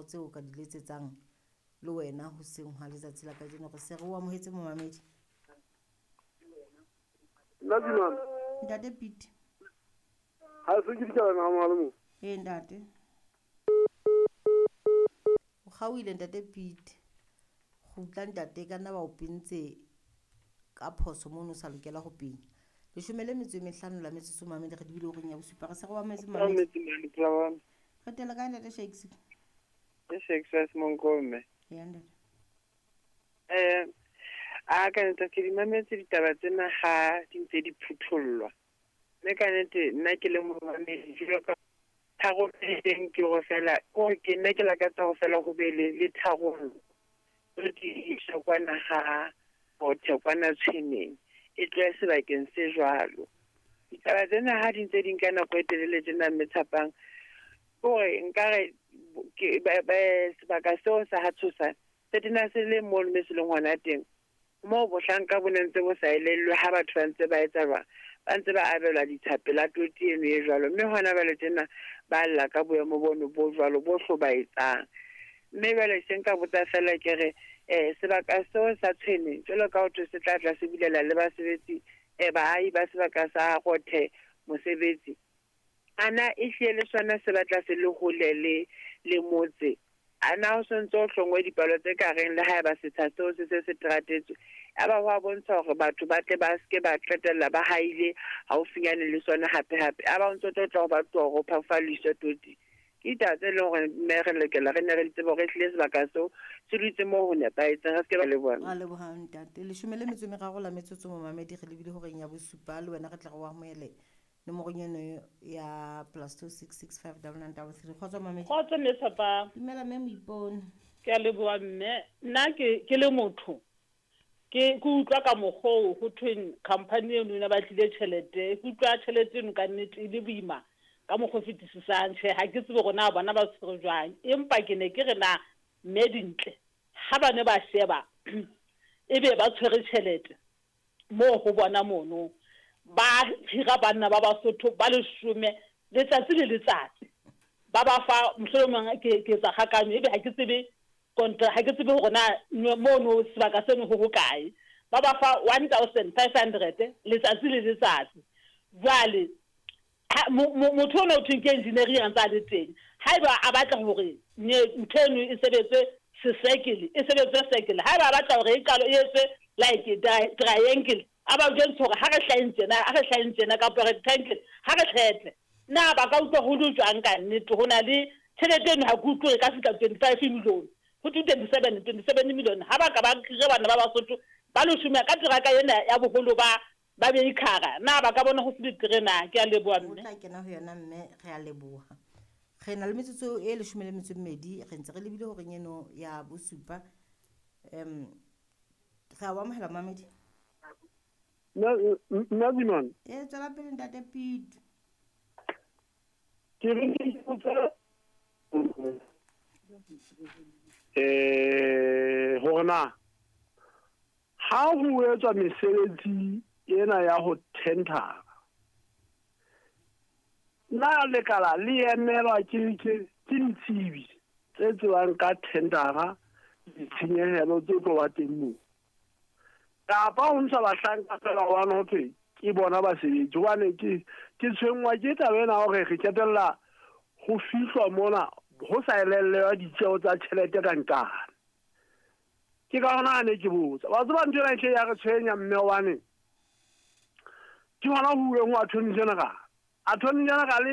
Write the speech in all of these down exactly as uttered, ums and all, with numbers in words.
tseo o ka di letsetsang le wena hoseng hwa letsatsi la kajeno. Re se re o amohetse momamedi. Nna Dinwana. Ntate Pete. Ha se ke dikala na mo le mo. Ee ntate. O kgaohile ntate Pete. Kgutla ntate ka nna ba o pentse ka phoso mono o sa lokela ho penya. Leshome le metso e mehlano la metsotso mamedi re dibile horeng ya bosupa. Re se re o amohetse mamedi. Re tela kae ntate Shakes? Ke Shakes wa Semonko mme. Ya ntate. Eh a ka nnete ke di mametse ditaba tsena ha di ntse di phuthollwa. Mme ka nnete nna ke le momamedi jwalo ka tharollo e teng ke hore fela ko ke nna ke lakatsa ho fela ho be le le tharollo. Re di isa kwana ha Rothe kwana Tshweneng e tlohe sebakeng se jwalo. Ditaba tsena ha di ntse di nka nako e telele tjena mme Tshapang, hore nkare ke sebaka seo sa ha Tshosa se tena se le mono mme se leng hona teng. Moo bohlanka bo ne ntse bo sa elellwe ha batho ba ntse ba etsa jwang, ba ntse ba abelwa ditsha pela toti eno e jwalo. Mme hona jwale tjena ba lla ka boemo bono bo jwalo bo hlobaetsang. Mme jwale se nka botsa fela ke re eh sebaka seo sa Tshweneng jwalo ka ho thwe se tla tla se bulela le basebetsi eh baahi ba sebaka sa Rothe mosebetsi. Ana e hlile le sona se batla se le hole le le motse. Ana ho sontso ho hlongwe dipalo tse ka reng le haeba setsha seo se se se teratetswe. Ya ba ho a bontsha hore batho ba tle ba ske ba qetella ba haile haufinyane le sona hape hape. Ya ba o ntso tlo tla ho batho hore o phafaliswe toti. Ke ditaba tse leng hore mme re lokela re ne re di tsebe hore ehlile sebaka seo se dutse moo ho nepahetseng, re ske ba le bona. Ra leboha ntate. Leshome le metso e meraro la metsotso momamedi re lebile horeng ya bosupa le wena re tla re o amohele nomorong eno ya plus two six six five double nine double three. Kgotso mamedi. Kgotso mme Tshapang. Dumela mme Moipone. Ke a leboha mme. Nna ke ke le motho ke ke utlwa ka mokgwa oo ho thweng company eno ena ba tlile tjhelete. Ke utlwa tjhelete eno ka nnete e le boima ka mokgwa o fetisisang. Tjhe, ha ke tsebe hore na bona ba tshwere jwang, empa ke ne ke re na mme Dintle ha ba ne ba sheba ebe ba tshwere tjhelete moo ho bona mono ba hira banna ba Basotho ba leshome letsatsi le letsatsi ba ba fa mohlomong ke ke etsa kgakanyo ebe ha ke tsebe kontra ha ke tsebe hore na mono sebaka seno ho hokae ba ba fa one thousand five hundred letsatsi le letsatsi. Jwale motho ona o thweng ke engineering a ntse a le teng haeba a batla hore ntho eno e sebetse se-circle e sebetse circle haeba a batla hore e qalo e etswe like triangle a ba jwetse hore ha re hlaheng tjena ha re hlaheng tjena kapa rectangle ha re tlhetle na ba ka utlwa ho le jwang ka nnete. Ho na le tjhelete eno ha ke utlwe e ka fihla twenty-five million ho thwe twenty-seven twenty-seven million ha ba ka ba hire bana ba Basotho ba leshome ka teraka ena ya boholo ba ba beikhara na ba ka bona ho se betere na. Ke a leboha mme. O tla kena ho yona mme, re a leboha. Re na le metsotso e leshome le metso e mmedi re ntse re lebile horeng eno ya bosupa. Um re a o amohela mamedi. Nna Dinwana. Ee, tswela pele ntate Pete. Ke re ke botsa eh hore na ha ho etswa mesebetsi ena ya ho tendera na lekala le emelwa ke ke ke ditsebi tse tsewang ka tendera ditshenyehelo tse tlo ba teng moo kapa ho ntsha bahlanka fela hobane ho thwe ke bona basebetsi. Hobane ke ke tshwenngwa ke taba ena hore re qetella ho fihlwa mona ho sa elellwa ditjeo tsa tjhelete ka nkane. Ke ka hona ne ke botsa wa tseba ntho ena e ya re tshwenya mme hobane ke hona ho bueng ho Attorney General. Attorney General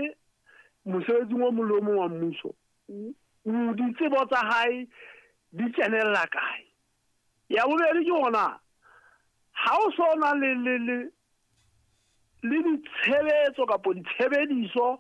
mosebetsing o mong le o mong wa mmuso ditsebo tsa hae di kenella kae? Ya bobedi ke hona ha o so na le le le le ditshebetso kapa ditshebediso